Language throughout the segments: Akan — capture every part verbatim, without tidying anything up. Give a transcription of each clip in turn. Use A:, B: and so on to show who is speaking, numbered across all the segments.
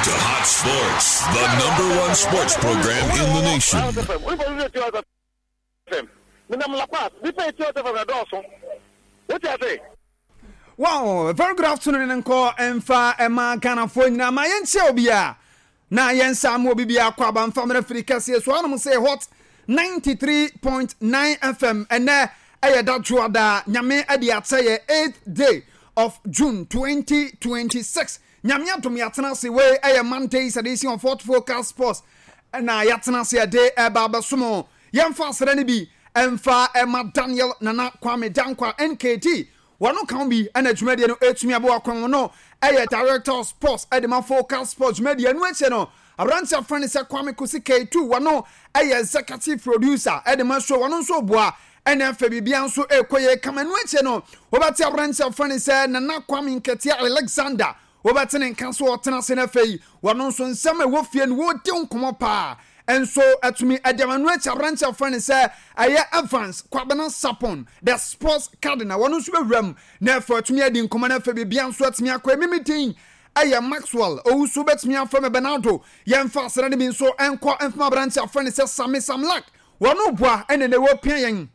A: to Hot Sports, the number one sports program in the nation.
B: Menam La Paz, nipa eti Hot F M na dɔɔso. Wote ase?
C: Wow, very good afternoon nkɔ ɛmfa ɛma Ghanafoɔ nyinaa. Ma yɛnkyia obi a na yɛnsa ma obi bi akɔ aba mfa mmerɛ firi kɛseɛ so anom sɛ Hot ninety-three point nine F M. Ɛnɛ ɛyɛ da dwoada, Nyame ɛde akyɛ yɛ eighth day of June twenty twenty-six. Nyame adom, yɛatena ase. Wei ɛyɛ Monday edition of Hot Focus Sports ɛna yɛatena ase ɛde ɛba abɛsom. Yɛmfa asrɛ no bi ɛmfa ɛma Daniel Nana Kwame Dankwa N K T. Wɔno ka ho bi ɛna dwumadie no ɛtumi aboa kwan no. Ɛyɛ director of sports ɛde ma Focus Sports dwumadie no. Akyɛ no, aberante afrɛ no sɛ Kwame Kosi K two, wɔno ɛyɛ executive producer ɛde ma show. Wɔno nso boa ɛna afɛ biribia nso ɛkɔ yɛ kama no. Akyɛ no, wɔbɛte aberante afrɛ no sɛ Nana Kwame Nketea Alexander. Wɔbɛte ne nka so ɔtena ase no. Afei wɔno nso nsɛm a ɛwɔ fie no, wɔdi nkɔmmɔ paa nso atumi ɛde ama no. Akyi, aberante afrɛ no sɛ ɛyɛ Evans Kwabena Sapon, the sports cardinal, wɔno nso bɛwura mu na afei atumi adi nkɔmmɔ no. Afei biribia nso atumi akɔ. Emimi din ɛyɛ Maxwell Owusu, bɛtumi afrɛ me Bernardo. Yɛmfa asra no bi nso ɛnkɔ mfama aberante afrɛ no sɛ Sami Samlak. Wɔno boa ɛna na ɛwɔ pia yɛn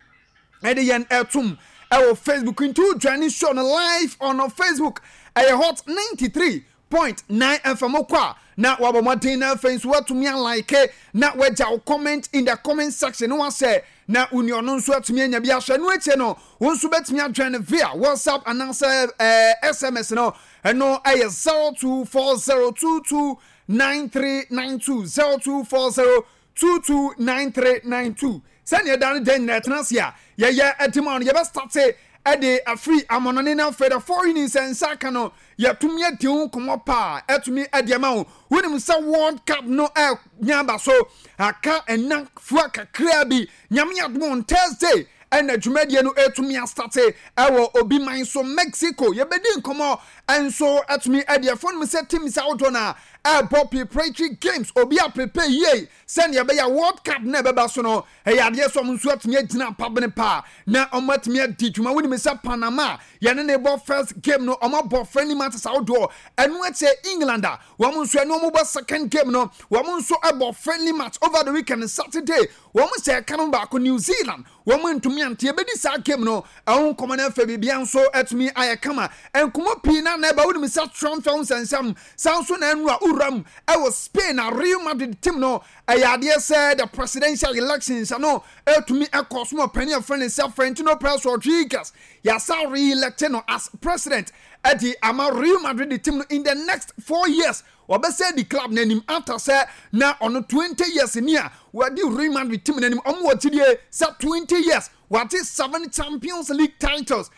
C: ɛde yɛn ɛtom ɛwɔ Facebook. Nti wodwane show no live on Facebook, ɛyɛ Hot ninety-three point nine F M. Kɔ a na wabɔ mmɔden na afei nso watumi alike na wagya wo comment in the comment section na wasɛ na woni ɔno nso atumi anya bi ahwɛ no. Akyire no, wo nso bɛtumi adwene no via WhatsApp anaasɛ ɛɛ S M S no. Ɛno ɛyɛ zero two four zero two two nine three nine two, zero two four zero two two nine three nine two. Sɛnea ɛda no dan nyinaa ɛtena ase a yɛyɛ ɛde ma no, yɛbɛstart ɛde afiri amɔnɔne no. Afei the foreign nsa nsa aka no, yɛtumi adi ho nkɔmmɔ paa, ɛtumi ɛde ama wo. Wonim sɛ World Cup no ɛnya aba so, aka ɛna fua kakraa bi. Nyame adom, on Thursday ɛna dwumadie no ɛtumi astart ɛwɔ obi man so, Mexico. Yɛbɛdi nkɔmmɔ ɛnso ɛtumi ɛde ɛfɔ no mu sɛ teams ahodoɔ no a ɛbɔ preparatory games, obi a prepare yie sɛnea ɛbɛyɛ World Cup na ɛbɛba so no, ɛyɛ adeɛ sɛ ɔmo nso atumi agyina pabene paa na ɔmo atumi adi dwuma. Wonim sɛ Panama yɛne ne bɔ first game no, ɔmo abɔ friendly matches ahodoɔ. Ɛno akyɛ England a wɔn nso ɛne ɔmo bɔ second game no, wɔn nso ɛbɔ friendly match over the weekend, Saturday. Wɔn hyɛ ɛka no baako New Zealand, wɔn ntumi ante. Ebedi saa game no ɛho nkɔmɔ no afɛ biribiara nso atumi ayɛ kama. Nkɔmɔ pii na na ɛba. Wonim sɛ transfer ho nsɛnsɛm saa nso na ɛnu a wuram ɛwɔ Spain a Real Madrid team no, ɛyɛ adeɛ sɛ the presidential elections no ɛtumi ɛkɔ so ma ɔpanin a fɛn ne sɛ Florentino Perez Rodriguez yasa re-elect no as president ɛde ama Real Madrid team no in the next four years. Wɔbɛsɛ di club n'anim after sɛ na ɔno twenty years ni a wɔde Real Madrid team n'anim. Ɔmo wɔ kyidie sɛ twenty years wɔate seven Champions League titles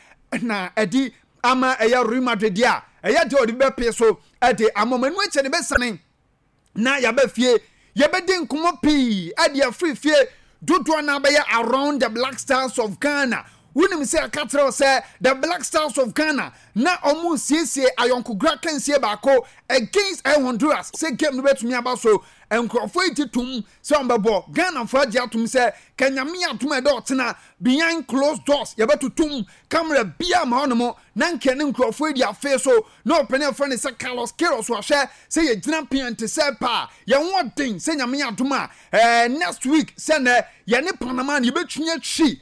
C: na ɛde ama ɛyɛ Real Madrid deɛ a ɛyɛ deɛ ɔde bɛpee so ɛde ama ɔmo. Ɛnu akyɛ ne bɛsane na yɛbɛ fie, yɛbɛdi nkɔmɔ pii ɛde afiri fie dodoɔ na bɛyɛ around the Black Stars of Ghana. Wonim sɛ ɛka kyerɛ wo sɛ the Black Stars of Ghana na ɔmo siesie ayɔnkogora kansie baako against ɛ Honduras sɛ game no bɛtumi aba so. Nkurɔfoɔ yi ti tum sɛ ɔmbɛbɔ Ghanafoɔ agye atom sɛ kanyame atom a ɛdɛ ɔtena behind closed doors, yɛbɛtotom camera bia ma hɔnom na nkɛ ne nkurɔfoɔ yi di afei so na ɔpɛne afrɛ ne sɛ Carlos Queiroz wahwɛ sɛ yɛgyina pea nte sɛ paa yɛn ho ɔden sɛ Nyame adom a ɛɛ next week sɛ nɛ yɛne Panama no yɛbɛtumi atwi.